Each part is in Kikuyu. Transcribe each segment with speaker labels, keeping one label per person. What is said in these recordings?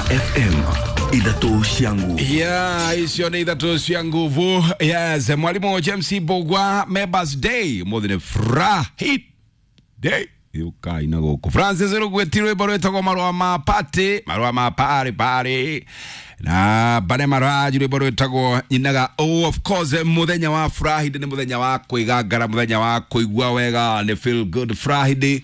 Speaker 1: FM ithatũ cia nguvu.
Speaker 2: Yeah, icio nĩ ithatũ cia nguvu. Yes, mwalimu James Bogwa, Members Day mũthĩ nĩ Friday ukai na gũkũ Francis Rugweti rwĩmbo rwĩtagwo marũa ma party, marũa ma party party na Bane Maraji rwĩmbo rwĩtagwo nyinaga. Oh, of course, mũthenya wa Friday nĩ mũthenya wa kwĩgangara, mũthenya wa kũigua wega, nĩ feel good Friday.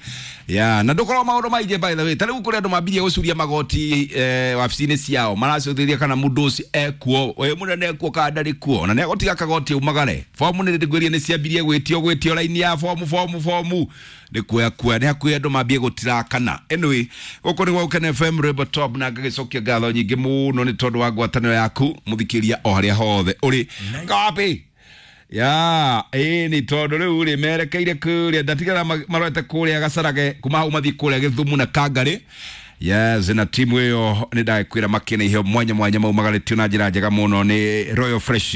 Speaker 2: Yeah, na ndũkorwo maũndũ maingĩ, by the way, ta rĩu kũrĩ andũ mambirie gũcuria magoti wabici-inĩ ciao, maracũthĩria kana mũndũ ũcio ekuo, wĩ mũnene ekuo kana ndarĩ kuo, na nĩegũtiga kagoti aumagare. Bomu nĩ ngwĩria nĩ ciambirie gwĩtio raini ya bomu bomu bomu nĩ kuoya kuoya, nĩ hakuhĩ andũ mambie gũtirakana. Anyway, gũkũ nĩ gwa Gũkena FM, rwĩmbo top, na ngagĩcokia ngatho nyingĩ mũno nĩ tondũ wa ngwatanĩro yaku mũthikĩria o harĩa hothe ũrĩ ngapi ya ĩĩ, nĩ tondũ rĩu rĩ merekeire kũrĩa ndatigara marorete kũrĩa Gacarage, kuma hau mathiĩ kũrĩa Gĩthumu na Kangarĩ. Yes, na timu ĩyo nĩ ndagĩkwĩra makĩna iheo mwanya mwanya maumagarĩtio na njĩra njega mũno nĩ Royal Fresh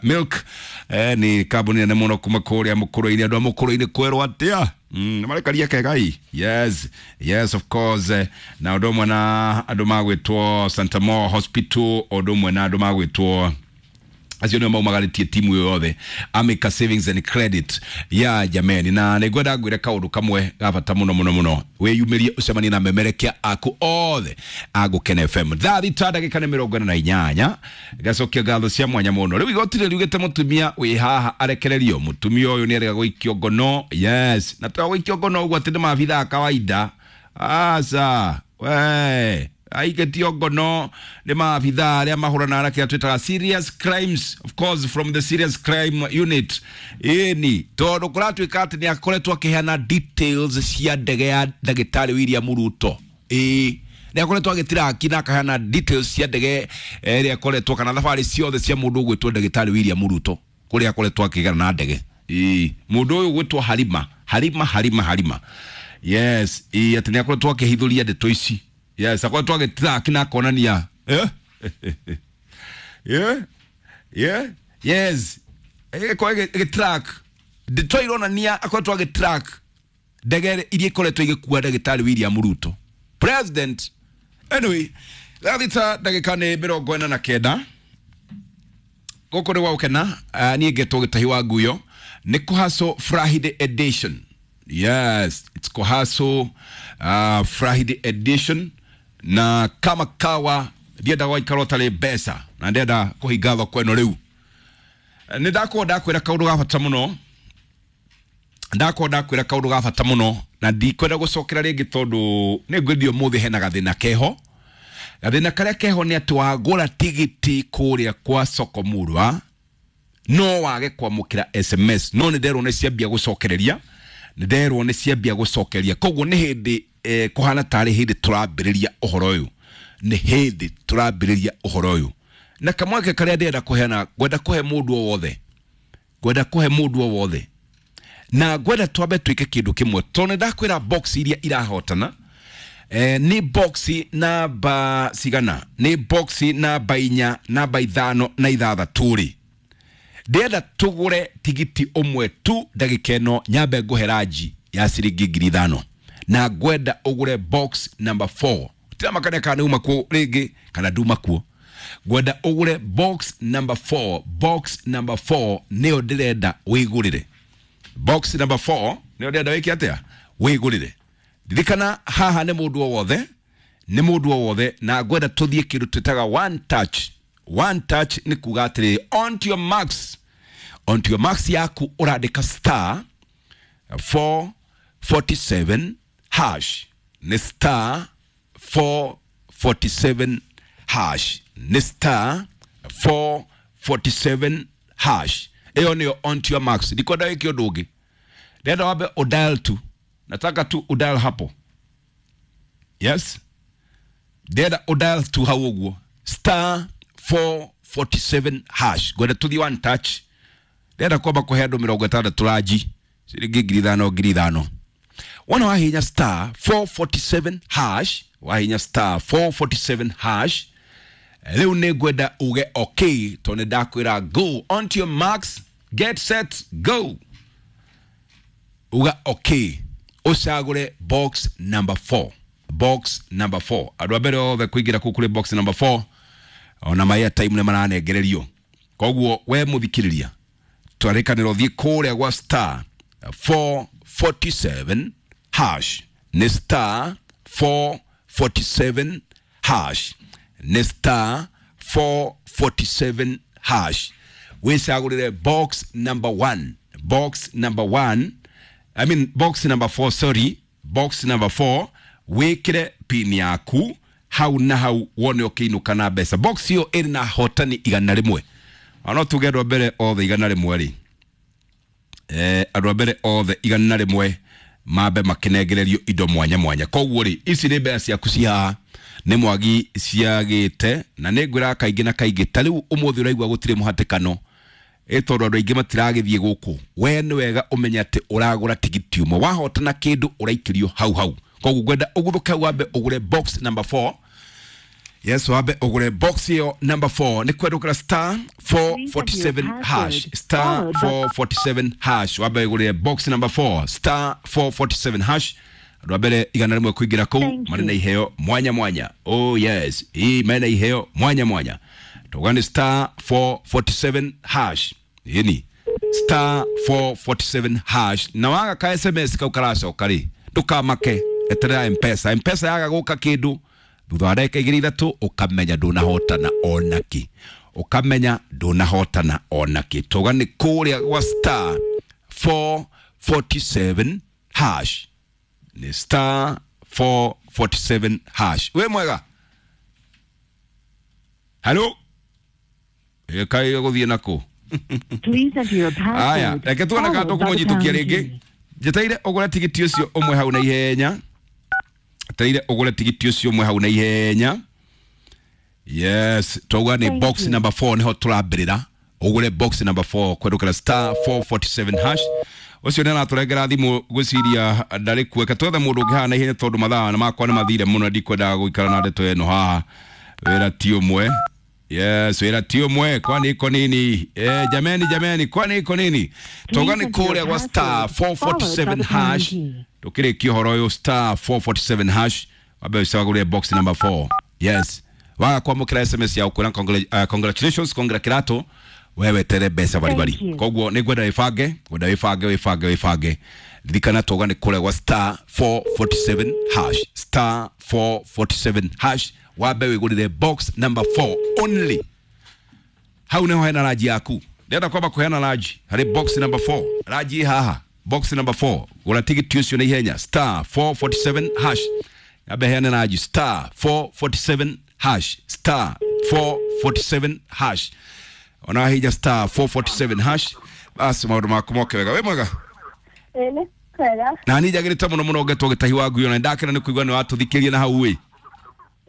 Speaker 2: Milk, nĩ kambuni nene mũno kuma kũrĩa mũkũrũ-inĩ, andũ a mũkũrũ-inĩ kwerwo atĩa? Nĩ marekaria kegai. Yes, yes, of course, na ũndũ ũmwe na andũ magwĩtwo Santa Mo Hospital, ũndũ ũmwe na andũ magwĩtwo acio nĩo maumagarĩtie timu ĩyo yothe, Amica Savings and Credit ya jameni. Na nĩ ngwenda ngwĩre kaũndũ kamwe ga bata mũno mũno mũno: wĩyumĩrie ũcemanie na memerekia aku othe a Gũkena FM thaa 6 ndagĩka nĩ 48. Ngacokia ngatho cia mwanya mũno. Rĩu igoti rĩriugĩte mũtumia wĩ haha arekererio. Mũtumia ũyũ nĩ arega gũikio ngono. Yes, na to gũikio ngono ũguo atĩ nĩ maabithaa kawaida, aca we, aikĩtio ngono nĩ maabithaa arĩa mahũranaga na kĩrĩa twĩtaga serious crimes, of course from the serious crime unit. Ĩni tondũ kũratuĩka atĩ nĩ akoretwo akĩheana details cia ndege ya ndagĩtarĩ William Ruto. Ĩĩ, nĩ akoretwo agĩtiraki na akaheana details cia ndege ĩrĩa akoretwo kana thabarĩ ciothe cia mũndũ ũgwĩtwo ndagĩtarĩ William Ruto, kũrĩa akoretwo akĩgana na ndege. Ĩĩ, mũndũ ũyũ ũgwĩtwo Harima Harima Harima Harima. Yes, ĩĩ, atĩ nĩ akoretwo akĩhithũria ndeto ici. Yes, akoretwo agĩtiraki na akonania, eh? Yeah? Yeah? Yes, ĩgĩkorwo ĩgĩtrack ndeto ironania akoretwo agĩtrack ndege iria ikoretwo igĩkua ndagĩtarĩ William Ruto, president. Anyway, thaa 6 ndagĩka nĩ 49, gũkũ nĩ gwa Gũkena. Niĩ ngetwo Gĩtahi wa Nguyo. Nĩ Kũhaco Friday edition. Yes, it's Kũhaco Friday edition, na kama kawa ndienda gwaikara ũtarĩ mbeca na ndĩrenda kũhinga thoko ĩno. Rĩu nĩ ndakorwo ndakwĩra kaũndũ ga bata mũno, ndakorwo ndakwĩra kaũndũ ga bata mũno, na ndikwenda gũcokera rĩngĩ tondũ nĩ ngwendio ũmũthĩ hena gathĩna keho. Gathĩna karĩa keho nĩ atĩ wagũra tigiti kũrĩa kwa Soko Murwa no wage kwamũkĩra SMS, no nĩ nderwo nĩ ciambia gũcokereria, nĩ nderwo nĩ ciambia gũcokeria. Koguo nĩ hĩndĩ kũhana tarĩ hĩndĩ tũrambĩrĩria ũhoro ũyũ, nĩ hĩndĩ tũrambĩrĩria ũhoro ũyũ. Na kamweke karĩa ndĩrenda kũheana, ngwenda kũhe mũndũ o wothe, ngwenda kũhe mũndũ o wothe, na ngwenda twambe twĩke kĩndũ kĩmwe, tondũ nĩ ndakwĩra box iria irahotana nĩ box namba cigana? Nĩ box namba 4, namba 5 na 6 rĩ. Ndĩrenda tũgũre tigiti ũmwe tu ndagĩka ĩno, nyambe ngũhe ranji ya ciringi 5,000, na ngwenda ũgũre box number 4. Tiramakania kana nĩ uma kuo rĩngĩ kana nduma kuo, ngwenda ũgũre box number 4. Box number 4 nĩyo ndĩrenda wĩgũrĩre. Box number 4 nĩyo ndĩrenda wĩke atĩa? Wĩgũrĩre. Ririkana haha nĩ mũndũ o wothe, nĩ mũndũ o wothe, na ngwenda tũthiĩ kĩndũ twĩtaga one touch. One touch nĩ kuga atĩrĩrĩ, on to your marks, on to your marks yaku ũrandĩka star 447 hash, nĩ star 447 hash, nĩ star 447 hash. Ĩyo nĩyo on to your marks. Ndikwenda wĩke ũndũ ũngĩ, ndĩrenda wambe udial tu, nataka tu udial hapo. Yes, ndĩrenda udial tu hau ũguo, star 447 hash. Ngwenda tũthiĩ one touch. Ndĩrenda kwamba kũhe andũ 60 ranji ciringi 5,000 5,000. Wona wahinya star 447 hash, wahinya star 447 hash, rĩu nĩ ngwenda uge okay, tondũ nĩ ndakwĩra go. On to your marks, get set, go. Uga okay, ũcagũre box number 4. Box number 4. Andũ a mbere othe kũingĩra kũu kũrĩ box number 4 ona ma airtime nĩ maranengererio. Koguo we mũthikĩrĩria, twarĩkanĩra ũthiĩ kũrĩa gwa star 447 hash, nĩ star 447 hash, nĩ star 447 hash, wĩcagũrĩre box number 1, box number 1, I mean box number 4, sorry, box number 4, wĩkĩre pin yaku hau na hau wone ũkĩinũka na mbeca. Box ĩyo ĩrĩ na hotani 100. Ona tuge andũ a mbere othe 100 rĩ, andũ a mbere othe 100 mambe makinengererio indo mwanya mwanya. Koguo rĩ, ici nĩ mbeca ciaku ci haha nĩ mwagi ciagĩte, na nĩ ngwĩraga kaingĩ na kaingĩ, ta rĩu ũmũthĩ ũraigua gũtirĩ mũhatĩkano ĩ tondũ andũ aingĩ matiragĩthiĩ gũkũ. We nĩ wega ũmenye atĩ ũragũra tigiti ũmwe, wahotana kĩndũ ũraikĩrio hau hau. Koguo ngwenda ũguthũke hau wambe ũgũre box number 4. Yes, wambe ũgũre box ĩyo number 4 nĩ kwendũkĩra star 447 hash, star 447 hash, wambe ũgũre box number 4, star 447 hash. Andũ a mbere 100 kũingĩra kũu marĩ na iheo mwanya mwanya. Oh yes, ii mena iheo mwanya mwanya. Tuga nĩ star 447 hash, ĩni star 447 hash. Na waga ka SMS kau karacoka rĩ, ndũkamake, eterera Mpesa. Mpesa yaga gũka kĩndũ thutha wa ndagĩka igĩrĩ ithatũ, ũkamenya ndũnahotana onakĩ, ũkamenya ndũnahotana onakĩ. Tuga nĩ kũrĩa gwa star 447 hash, nĩ star 447 hash. Wĩ mwega? Halo, ĩkaĩ gũthiĩ nakũ?
Speaker 3: Please enter your
Speaker 2: Aya,
Speaker 3: password.
Speaker 2: reke tuone kana
Speaker 3: Followed by the
Speaker 2: tũkũmũnyitũkia
Speaker 3: pound
Speaker 2: rĩngĩ.
Speaker 3: key.
Speaker 2: Njeteire ũgũre tigiti ũcio ũmwe hau na ihenya. Njeteire ũgũre tigiti ũcio ũmwe hau na ihenya. Yes, twauga nĩ
Speaker 3: Thank
Speaker 2: box
Speaker 3: you.
Speaker 2: number 4 nĩho tũrambĩrĩra. Ũgũre box number 4 kwendũkĩra star 447 hash. Ũcio nĩ aratũrengera thimũ, ngwĩciria ndarĩ kuo. Reke twethe mũndũ ũngĩ haha na ihenya tondũ mathaa makwa nĩ mathire mũno, ndikwendaga gũikara na ndeto ĩno haha. Wĩra ti ũmwe. Yes, wĩra ti ũmwe, kwani iko nini? Jameni, jameni, kwani iko nini? Toga nĩ
Speaker 3: enter your
Speaker 2: kũrĩa gwa star
Speaker 3: password, followed by
Speaker 2: 447
Speaker 3: the pound
Speaker 2: hash.
Speaker 3: key.
Speaker 2: Tukĩrĩkia ũhoro ũyũ, star 447 hash, wambe ũcagũre box number 4. Yes, waga kwamũkĩra SMS ya ũkwĩra congratulations, congra kĩratũ, we wetere mbeca baribari.
Speaker 3: Thank you.
Speaker 2: Koguo nĩ ngwenda wĩbange, ngwenda wĩbange, wĩbange, wĩbange. Ririkana toga nĩ kũrĩa gwa star 447 hash, star 447 hash, wambe wĩgũrĩre box number 4 only. Hau niho hena ranji yaku. Ndĩrenda kwamba kũheana ranji harĩ box number 4. Ranji ĩ haha, box number 4. Gũra tigiti ũcio na ihenya, star 447 hash. Ambe heane ranji, star 447 hash, star 447 hash. Ona wahinya star 447 hash, basi maũndũ maku moke wega. Wĩ mwega?
Speaker 4: Ĩĩ nĩ kwega.
Speaker 2: Na niĩ njagĩrĩte mũno mũno ngetwo gĩtahi wa ngui, ona nĩndakena nĩ kũigua nĩ watũthikĩria na hau ĩ.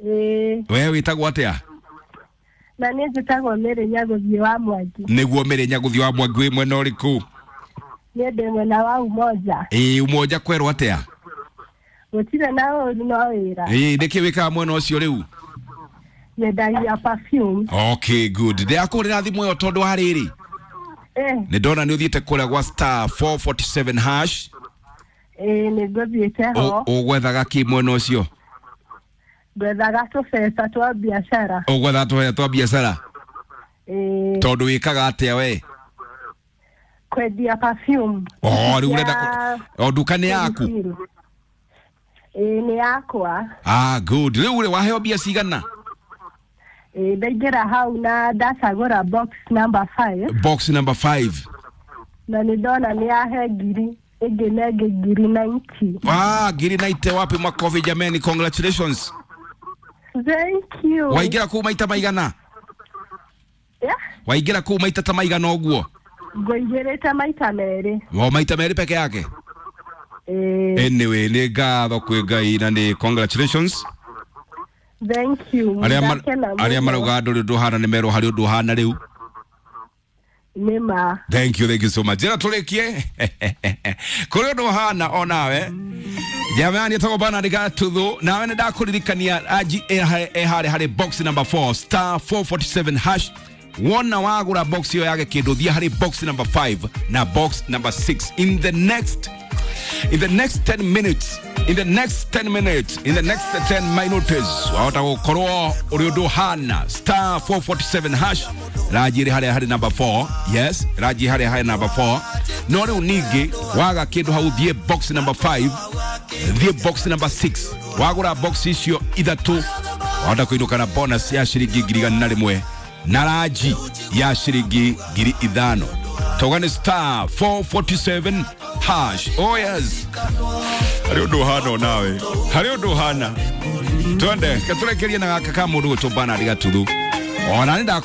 Speaker 4: Ĩĩ.
Speaker 2: We wĩtagwo atĩa?
Speaker 4: Na niĩ njĩtagwo Mary Nyagũthiĩ wa Mwangi.
Speaker 2: Nĩguo Mary Nyagũthiĩ wa Mwangi, wĩ mwena ũrĩkũ?
Speaker 4: Niĩ ndĩ mwena wa Umoja.
Speaker 2: Ĩĩ, Umoja kwerwo atĩa?
Speaker 4: Gũtirĩ na ũru, no wĩra.
Speaker 2: Ĩĩ, nĩkĩ wĩkaga mwena ũcio rĩu?
Speaker 4: Nyendagia perfume.
Speaker 2: Okay, good. Ndĩrakũhũrĩra thimũ ĩyo tondũ wa rĩrĩ, nĩ ndona nĩ ũthiĩte kũrĩa gwa star 447 hash.
Speaker 4: Ĩĩ, nĩ ngũthiĩte ho.
Speaker 2: Ũgwethaga kĩ mwena ũcio?
Speaker 4: Ngwethaga tũbeca twa biacara.
Speaker 2: Ũgwethaga tũbeca twa biacara?
Speaker 4: Ĩĩ.
Speaker 2: Tondũ wĩkaga atĩa we?
Speaker 4: Kwendia perfume.
Speaker 2: Oh, rĩu ũrenda
Speaker 4: Ya
Speaker 2: o nduka nĩ yaku?
Speaker 4: Ĩĩ, nĩ yakwa.
Speaker 2: Ah, good. Rĩu rĩ, waheo mbia cigana?
Speaker 4: Ĩĩ, ndaingĩra hau na ndacagũra box number 5.
Speaker 2: Box number 5.
Speaker 4: Na nĩ ndona nĩ yahe ngiri ĩngĩ na ĩngĩ, ngiri 90.
Speaker 2: Ah, ngiri 90. Wapi makofi jameni, congratulations.
Speaker 4: Thank you.
Speaker 2: Waingĩra kũu maita maigana?
Speaker 4: Yeah.
Speaker 2: Waingĩra kũu maita ta maigana ũguo?
Speaker 4: Ngũingĩrĩte maita merĩ.
Speaker 2: O maita merĩ peke yake?
Speaker 4: Ĩĩ.
Speaker 2: Anyway, nĩ ngatho kwĩ Ngai na nĩ congratulations.
Speaker 4: Thank you. Ndakena
Speaker 2: Arĩa
Speaker 4: mũno.
Speaker 2: marauga ndũrĩ ũndũ ũhana nĩ merwo harĩ ũndũ ũhana rĩu.
Speaker 4: Nĩ ma.
Speaker 2: Thank you, thank you so much. Njĩra tũrĩkie kũrĩ ũndũ ũhana onawe. Jamani, etagwo Bernard Gatuthu, nawe nĩ ndakũririkania anji ĩharĩ harĩ box number 4, star 447 hash. Wona wagũra box ĩyo yage kĩndũ, thiĩ harĩ box number 5 na box number 6. In the next 10 minutes. In the next 10 minutes, in the next 10 minutes, wahota gukorwo uri undu hana star 447 hash ranji ri haria hari number 4. Yes, ranji haria hari number 4. No riu ningi waga kindu hau, thie box number 5, thie box number 6. Wagura box icio ithatu, wahota kuinuka na bonus ya ciringi 100,000 na ranji ya ciringi 5,000. Toga ni star 447 hash. Oh yes, harä å ndå hana onawe, harä å ndå hana. Twende katårekerie na gaka ka må ndå gwä two Bernard Gatuthu ona nä.